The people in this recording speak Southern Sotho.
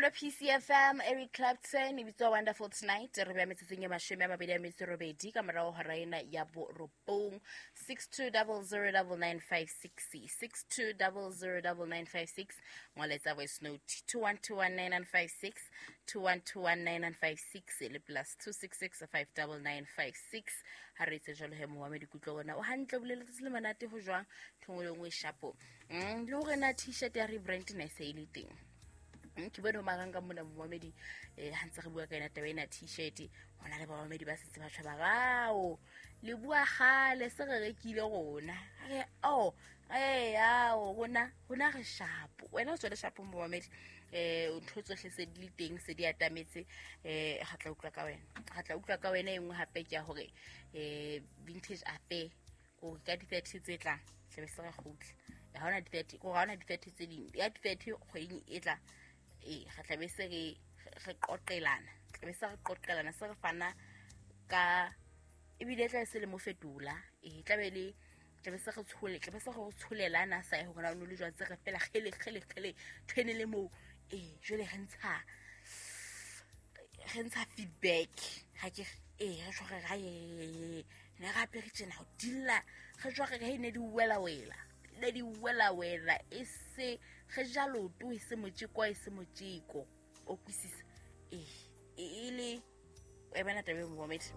Mmamelo PCFM, Eric Clapton e bitswa Wonderful Tonight. Re beya metsotsong e 28 ka morago hora ena ya 9, 62009956, 62009956. Ngwaletsa voice note 21219956, 21219956 le plus 266 59956. Ha re etse jalo he, moamedi kutlo ona o hantle, boleletse le monate ho jwang thongwe le nngwe shapo. Le hore na T-shirt ya rebrand ne se e le teng. Ke bone ho marang ka mona momamedi, ha ntse re bua ka ena taba ena T-shirt, ho na le bamamedi ba setse ba tjho ba rao le bua kgale se re rekile rona. Re oh ao rona re shapo, wena o tswele shapo momamedi. Ntho tsohle se di le teng, se di atametse. Ga tla utlwa ka wena, ga tla utlwa ka wena. E nngwe hape ke ya hore vintage affair ko ka di-30 tse tlang tlabe se re kgutla. Ha hona di-30 ko, ha hona di-30 tse ding ya di-30 kgweding e tla. Re tlabe se re qoqelana, tlabe se re qoqelana, se re fana ka ebile tlabe se le mo fetola. Tlabe le tlabe se re tshole, tlabe se re tsholelana sa hore na o le jwang, se re fela kgele kgele kgele tshwene le moo. Jwale re ntsha feedback ha ke re tjho re ra ne re apere tjena ho dilla, re tjho re ne di wela wela, ne di wela wela, e se re ja loto, e se motjeko, e se motjeko o kwisisa e le e bana tabe momamedi.